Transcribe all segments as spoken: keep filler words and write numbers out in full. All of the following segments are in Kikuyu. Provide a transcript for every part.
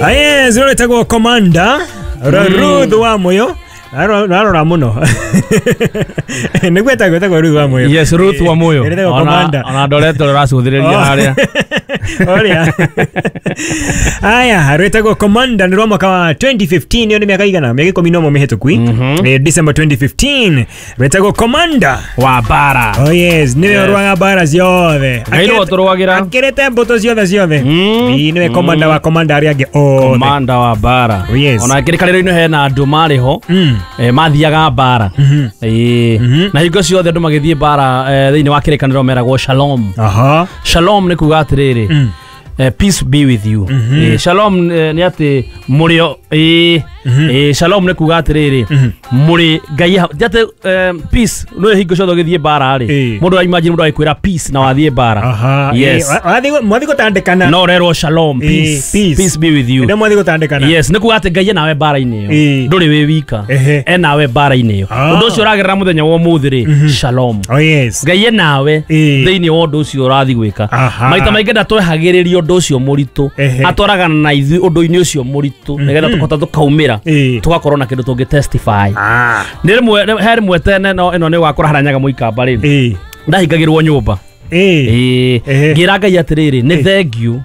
Aye, zero tagwo Commander Ruth wa Moyo. Arora muno. Nĩguo etagwo etagwo Ruth wa Moyo. Yes, Ruth wa Moyo. Etagwo Commander. Ona ndoretwo rũracuthĩrĩria harĩa. Oria. Aya, rwetagwo Commander nĩ rwa mwaka wa twenty fifteen, iyo nĩ mĩaka igana, mĩaka ikũmi na ũmwe mĩhĩtũku. December twenty fifteen. Rwetagwo Commander wa bara. Oh yes, nĩwe ũrũaga bara ciothe. Ngai nĩwe ũtũrũagĩra. Akĩrĩte mbũtũ ciothe ciothe. Nĩwe Commander wa Commander arĩa angĩ othe. Commander wa bara. Oh yes. Ona kĩrĩkanĩro-inĩ hena andũ marĩ ho. Eh, mathiaga bara. Eh, na hingo ciothe andũ magĩthiĩ bara thĩinĩ wa kĩrĩkanĩro meragwo shalom. Aha. Shalom nĩ kuga atĩrĩrĩ, peace be with you. Eh, shalom nĩ atĩ mũrĩ eh eh shalom nĩ kuga atĩrĩrĩ mũrĩ Ngai atĩ peace no hingo ciothe ũgĩthiĩ bara rĩ mũndũ a imagine mũndũ agĩkwĩra peace na wathiĩ bara. Aha. Yes. Wathiĩ mwathiĩ gũtandĩkana. No ũrerwo shalom, peace, peace be with you. Ndio mwathiĩ gũtandĩkana. Yes, nĩ kuga atĩ Ngai nawe bara-inĩ ĩyo. Ndũrĩ wĩ wika. E nawe bara-inĩ ĩyo. Ũndũ ũcio ũragerera mũthenya wa ũmũthĩ rĩ, shalom. Oh yes. Ngai nawe thĩinĩ wa ũndũ ũcio ũrathiĩ gwĩka. Maita maingĩ ndatwehagĩrĩria ũndũ ũcio mũritũ, atwaragana na ithuĩ ũndũ-inĩ ũcio mũritũ nĩgetha tũkahota tũkaumĩra tugakorwo na kĩndũ tũngĩ testify. Nĩ rĩmwe he rĩmwe tene no ĩno nĩ wakora haranyaga mũikamba rĩ ndahingagĩrwo nyũmba. Ĩĩ ngĩra Ngai atĩrĩrĩ nĩ thank you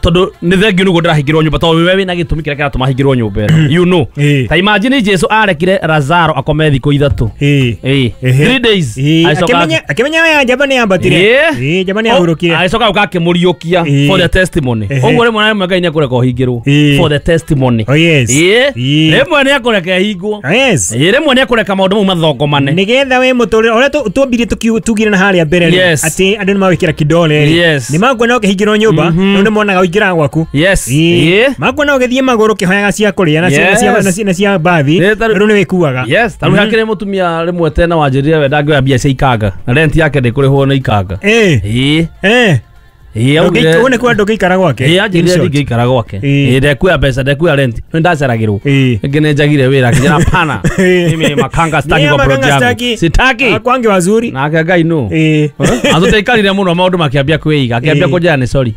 tondũ nĩ thank you nĩguo ndĩrahingĩrwo nyũmba tondũ wewe wĩna gĩtũmi kĩrĩa kĩratũma hingĩrwo nyũmba ĩno, you know. Ta imagine Jesu arekire Lazaro akome thikũ ithatũ. Ĩĩ three days. Akĩmenya akĩmenya ya njamba nĩ yambatire. Ĩĩ njamba nĩ yahurũkire. Agĩcoka gũka akĩmũriũkia for the testimony. Ũguo rĩmwe na rĩmwe Ngai nĩ ekũreka ũhingĩrwo for the testimony. Oh yes. Ĩĩ rĩmwe nĩ ekũreka ĩhingwo. Yes. Ĩĩ rĩmwe nĩ ekũreka maũndũ mau mathongomane nĩgetha we mũtũrĩre ũrĩa twambire tugire na harĩa mbere atĩ andũ nĩ magwĩkĩra kidole rĩ nĩ makuona ũkĩhingĩrwo nyũmba rĩu nĩ monaga ũingĩraga gwaku. Yes. Ĩĩ makuona ũgĩthiĩ magũrũ ũkĩhoyaga cia kũrĩa na cia na cia mbathi rĩu nĩ wĩkuaga. Yes, ta rĩu hakĩrĩ mũtumia rĩmwe tena wanjĩrire we ndangĩoya mbia cia ikanga na rent yake ndĩkũrĩhwo nĩ ikanga. Ĩĩ ĩĩ ĩĩ augire ũguo nĩ kuga ndũngĩikara gwake. Ĩĩ anjĩrire ndingĩikara gwake. Ĩĩ ndekuoya mbeca ndekuoya rent nĩ ndaceragĩrwo. Ĩngĩ nĩ njagire wĩra akĩnjĩra pana mimi makanga sitaki kwa project yangu sitaki kwangi wazuri nake Ngai no atũtaikarire mũno maũndũ makĩambia kwĩiga akĩambia kũnjĩra nĩ sorry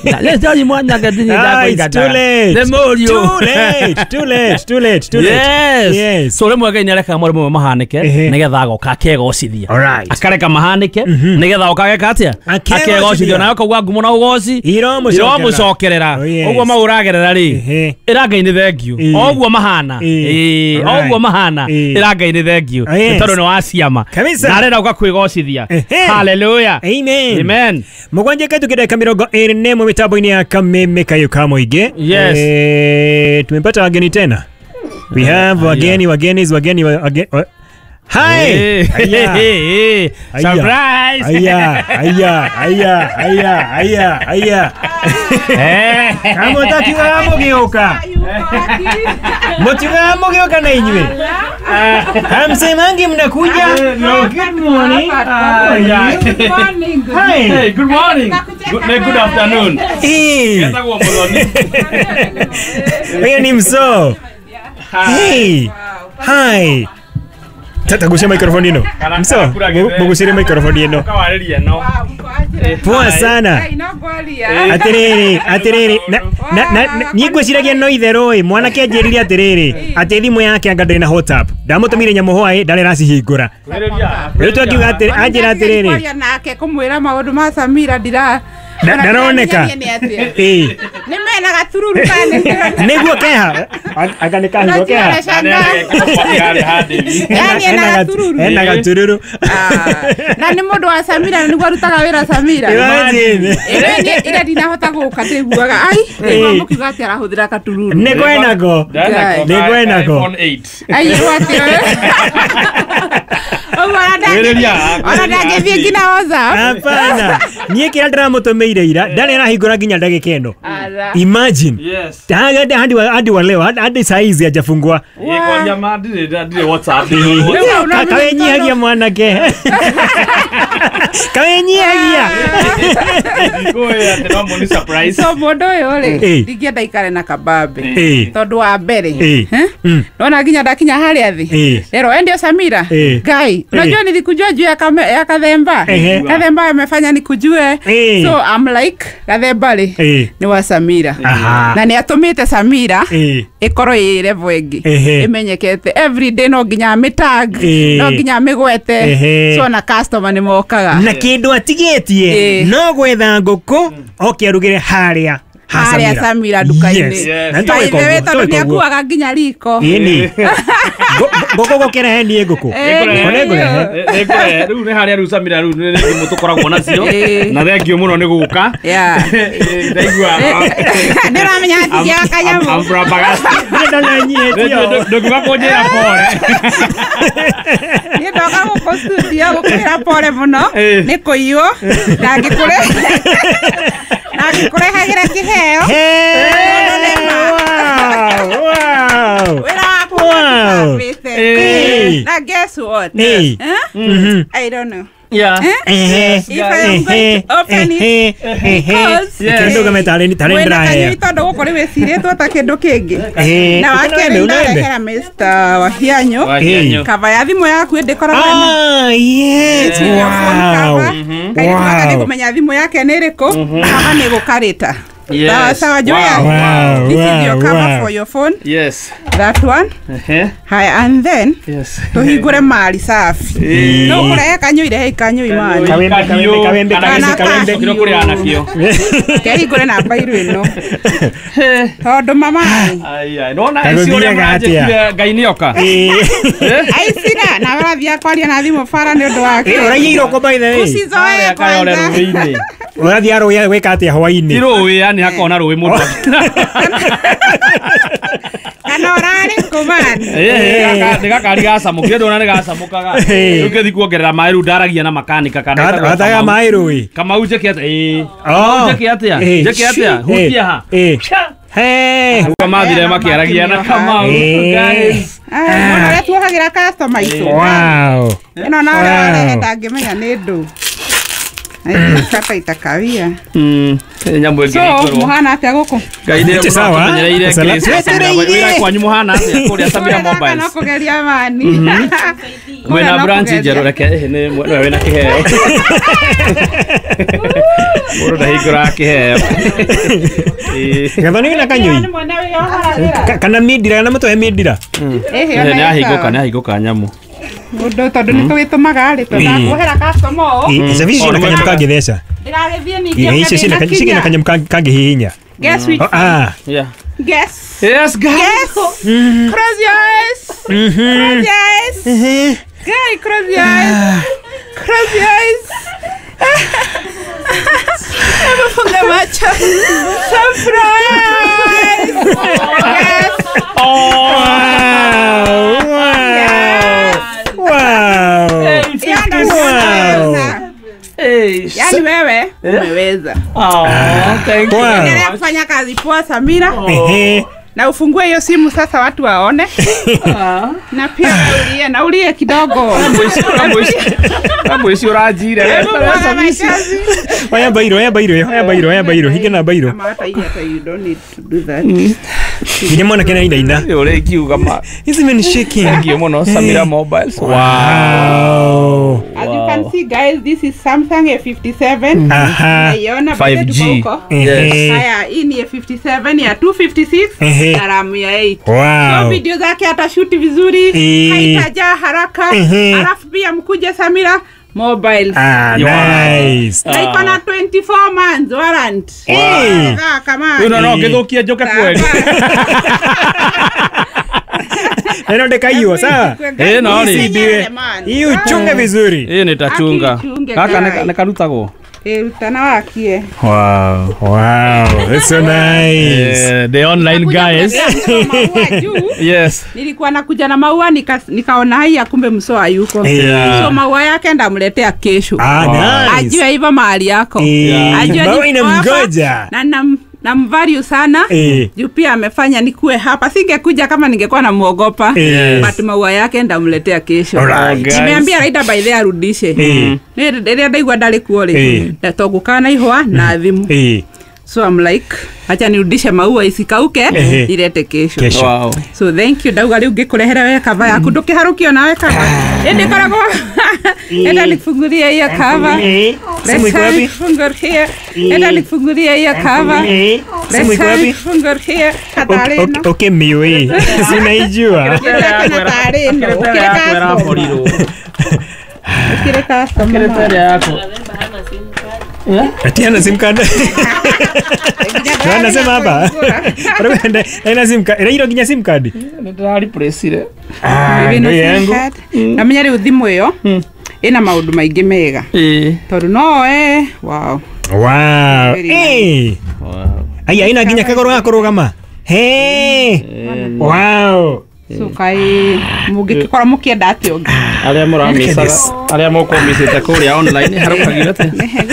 na sorry mwanake ndini ndakũingata nĩ mũriũ too late too late too late too late. Yes. So rĩmwe Ngai nĩarekaga maũndũ mamwe mahanĩke nĩgetha agoka akegocithia. Akareka mahanĩke nĩgetha oka ageka atĩa akegocithia nawe ũkauga ngumo na ugoci iromucokerera uguo mau uragerera ri ira Ngai ni thank you oguo mahana eh oguo mahana ira Ngai ni thank you tondu ni wa ciama na arenda uka kwigocithia. Hallelujah, amen, amen. Mũgwanja ketu kĩdeka mĩrongo ĩrĩ na ĩmwe mĩtambo-inĩ ya Kameme Kayo ka Mũingĩ. Yes. Eh, tumepata wageni tena. We have wageni wageni wageni wageni. Hi! Hey, hey, surprise! Aya, aya, aya, aya, aya, aya. Kama utakiwa mugioka. Mutiwa mugioka na inywe. Hamsemangi mnakuja. Good morning. Good morning. Hi. Hey, good morning. Good, good afternoon. Hey. Huyo ni mso. Hey. Hi. Tata microphone ino. Mso, mugucire microphone ino. Poa sana. Atiriri, atiriri. Na na niĩ ngwĩciragia no itherũ ĩ mwanake anjĩrire atiriri atĩ thimũ yake anga ndĩrĩ na WhatsApp. Ndamũtũmire nyamũ hwaĩ ndarĩ aracihingũra. Rĩu twakiuga atĩrĩ anjĩra atĩrĩrĩ. Kwaria nake kũmwĩra maũndũ ma Samira ndira ndaroneka. Ĩĩ. Nĩ mena gatururu kana nĩguo keha anga nĩ kahingo keha. Yani ena gatururu. Ena gatururu. Na nĩ mũndũ wa Samira nĩguo arutaga wĩra Samira. Imagine. Ĩrĩa ndinahota gũka ndĩguaga ai nĩguo mũkiuga atĩ arahũthĩra gatururu. Nĩ kwenako. Nĩ kwenako. Ai atĩ. Ona ndangĩthiĩ nginya WhatsApp. Hapana. Niĩ kĩrĩa ndĩramũtũmĩire ira ndarĩ arahingũra nginya ndagĩka ĩno. Imagine. Yes. Hadi hadi hadi wa leo hadi saizi hajafungua. Kwa jamaa ndire ndire WhatsApp. Kawenyihagia mwanake. Kawenyihagia. Ndikoya atĩ no ni surprise. So mũndũ ũyũ rĩ ndingĩenda ikare na kabambe tondũ wa mbere nona nginya ndakinya harĩa thĩ. Lero endio Samira. Ngai, unajua nilikujua juu ya ya Kathemba. Kathemba amefanya nikujue. So I'm like Kathemba rĩ ni wa Samira. Samira. Aha. Na nĩ atũmĩte Samira Ĩĩ. ĩkorwo ĩ level ĩngĩ. Ehe. Ĩmenyekete every day no nginya amĩtag, Ĩĩ. no nginya amĩgwete. Ehe. So na customer nĩ mokaga. Na kĩndũ atigĩtie Ĩĩ. no gwetha ngũkũ oke arugĩre harĩa ha Harĩa Samira nduka-inĩ. Yes. Yes. Na By nĩtũgwĩka the way, ũguo, tondũ nĩtũgwĩka ũguo. nĩakuaga nginya riko. Ĩni. Ngũkũ gũkĩrehe niĩ ngũkũ. Ĩĩ, Ngũkũ nĩngũrehe. Nĩngũrehe. Rĩu nĩ harĩa rĩu Samira rĩu nĩ thimũ tũkoragwo nacio. Ĩĩ. Na thengiũ mũno nĩ gũka. Yeah. Ndaigua. Ndĩramenya hatigiaga kanyamũ. I'm flabbergasted. Niĩ ndona nyihĩtio. Ndũngiuga kũnjĩra pole. Niĩ ndoka gũkũ studio gũkwĩra pole mũno Ĩĩ. nĩ kũiywo na ngĩkũre na ngĩkũrehagĩra kĩheo. Hey, wow, wow. Wĩra waku Wow. ũtambĩte. Ĩĩ. Na guess what? Ĩĩ. Eh? Mhm. I don't know. Yeah. Ehe. If I am going to open it Ehe. Ehe. because Reke ndũgame tarĩ tarĩ mwĩna ndĩraheo. kanyui tondũ gũkũ rĩ wĩcirĩtwo ta kĩndũ kĩngĩ. Ĩĩ. Na wa Ũkona kerĩ wembe, ũna wembe? ndarehera Mister Wahianyũ Wahianyũ. kava ya thimũ yaku ĩndĩkoragwo ĩna Ah, yes. Wow. Kairĩtu gaka Wow. nĩngũmenya thimũ yake nĩ ĩrĩkũ kava nĩ gũkarĩta. Yes. Sawa sawa Joya. Wow, This is your wow, cover wow. for your phone. Yes. That one. Ehe. Haya, and then Yes. tuhingũre mari safi. Ĩĩ. No ũkũrehe kanyui rehe kanyui mani. Kawembe, kawembe, kawembe, Kana kawembe, kawembe. Kĩrĩa kũrĩa nakĩo. Kehingũre namba iru ĩno. Tondũ mama Ai ai. Nona Kaĩ icio ũrĩa gũthiaga atĩa? mũranjĩkire Ngai nĩoka. Ĩĩ. aicira na ũrathiĩ kwaria na thimũ bara nĩ ũndũ wake. Ĩĩ, ũraiyĩirwo kũ by the way? Usizoe Harĩa kayore kwanza. rũĩ-inĩ. Ũrathiĩ arũĩ gwĩka atĩa Ti hwaĩ-inĩ? rũĩ yani hakona rũĩ mũndũ. Kana ũrarĩ kũ man? Ĩĩ nĩ gakari gacamũkire ndona nĩ gacamũkaga. Ĩĩ. Rĩu ngĩthiĩ kuongerera maĩ rĩu ndaragia na makanika kana Gata- etagwo Gataga Kamau. maĩ rũĩ. Kamau njĩke atĩa? Ĩĩ. Oh. Kamau njĩke atĩa? Ĩĩ. Njĩke atĩa? Ĩĩ. Hutia ha. Ĩĩ. Hey. Uga mathire makĩaragia na Kamau. Ĩĩ. Guys. Mũno ũrĩa tuohagĩra customer aitũ. Wow. Ĩno na ũrĩa Wow. warehe ndangĩmenya nĩ ndũ. Kata itakawia. Mm. Nyamũ ĩngĩ So, ĩkorwo. mũhana atĩa gũkũ? Ngai nĩ Nĩ sawa. mũtũmenyereire Sala- Grace wa Samira. Wĩra kwanyu mũhana atĩa kũrĩa Samira Gaka no Mobiles? kũgeria mani. Mwĩna no branch kũgeria. njerũ reke ĩhĩ nĩ nĩwe wĩna kĩheo. Mũndũ ndahingũraga kĩheo. Ĩĩ. Gathoni wĩna kanyui? Nĩ mwene wĩyohoragĩra. Ka- Kana mindira kana mũtũhe mindira? Ĩhĩ, ona Nĩ ahingũka ĩkawa. nĩ ahingũka nyamũ. Mũndũ tondũ nĩ tũgĩtũmaga rĩ tũnakuohera customer ũũ. Ĩĩ, cabi icio ciĩna kanyamũ kangĩtheca. Ndĩragĩthiĩ ningĩ Ĩĩ, icio ciĩna ũkĩndĩ ciĩna na kanyamũ kang- kangĩhihinya. Guess which Oh, ah. Yeah. Guess. Yes, guys. Guess. Close your eyes. Close your eyes. Ehe. Guy, close your eyes. Close your eyes. Hebu funga macho. Surprise! Yes. Wow. Wow. Wow. Hiyo ndo Wow. nimeweza. Hey. Yaani wewe umeweza. Oh, thank you. Wow. Endelea kufanya kazi poa Samira. Ehe. Na ufungue hiyo simu sasa watu waone. Na pia ulie na ulie kidogo. Kamwe icio ũranjire. Hebu mwaga machozi. Oya bairo, oya bairo, oya bairo, oya bairo, hinge na bairo. Ama hata hii hata you don't need to do that. Nginya mwanake nĩ ainaina. Nĩ ũrĩa ingiuga ma. He's even shaking. Thank you mũno Samira Mobiles. Wow. As you can see guys, this is Samsung A fifty-seven. Aha. Naiona five G. bado tuko huko. Ehe. Haya, hii ni A fifty-seven ya two fifty-six Ehe. na RAM ya eight. So Wow. video zake atashuti vizuri, Eh. haitajaa haraka. Ehe. Alafu pia mkuje Samira Mobiles. Ah, nice. Na iko na twenty-four months warrant. Eh. Ah, kama. Rĩu no no ngĩthũkie njũke kweli. Neno ndekaiywo sawa? Eh, no rĩ. Isibiwe. Hii uchunge vizuri. Ĩĩ nĩtachunga. Akichunge, Gaka guy. nĩ karutagwo. Eh, rutana wakie. Wow. Wow, that's so nice. Eh, the online guys. Maua juu. Yes. Nilikuwa nakuja na maua nika, nikaona haya kumbe msoa yuko. Yeah. So maua yake ndamletea kesho. Ah, nice. Ajue hivyo mahali yako. Eh, Ajue maua niko hapa inamgoja. Na nam namvalue sana. Eh. Juu pia amefanya nikuwe hapa. Singekuja kama ningekuwa namuogopa. Yes. But maua yake ndamletea kesho. Alright. Guys. Nimeambia Raida by the arudishe. Eh. Ni rĩrĩa ndaigua ndarĩ kuo rĩ. Eh. Ndatogũkana na ihũa na thimu. Eh. So I'm like Acha nirudishe maua isikauke ilete kesho. Kesho. Wow. So thank you ndauga riu ngikurehere we cover yaku ndukiharukio nawe cover. Indi koragwo enda nikufungulie hiyo cover. Simu iko wapi? Nikufungulie. Enda nikufungulie hiyo cover. Simu iko wapi? Nikufungulie katarĩ ĩno. Okay, miwe. Sinaijua. Katarĩ ĩno. Ukire customer. Ukire yako. Ati ana sim card. Anasema hapa. Ina sim card. Ira nginya sim card. Nĩndĩrariplaceire. Ah, ndio yangu. Na menya rĩu thimũ ĩyo ĩna maũndũ maingĩ mega. Ĩĩ. Tondũ no eh wow. Wow. Eh. Wow. Aya ina nginya kagoro ga kũrũgama. Hey. Wow. So kai mũngĩkorwo mũkĩenda atĩa ũngĩ. Arĩa mũramicaga, arĩa mũkũmicĩte kũrĩa online harũkagio atĩa?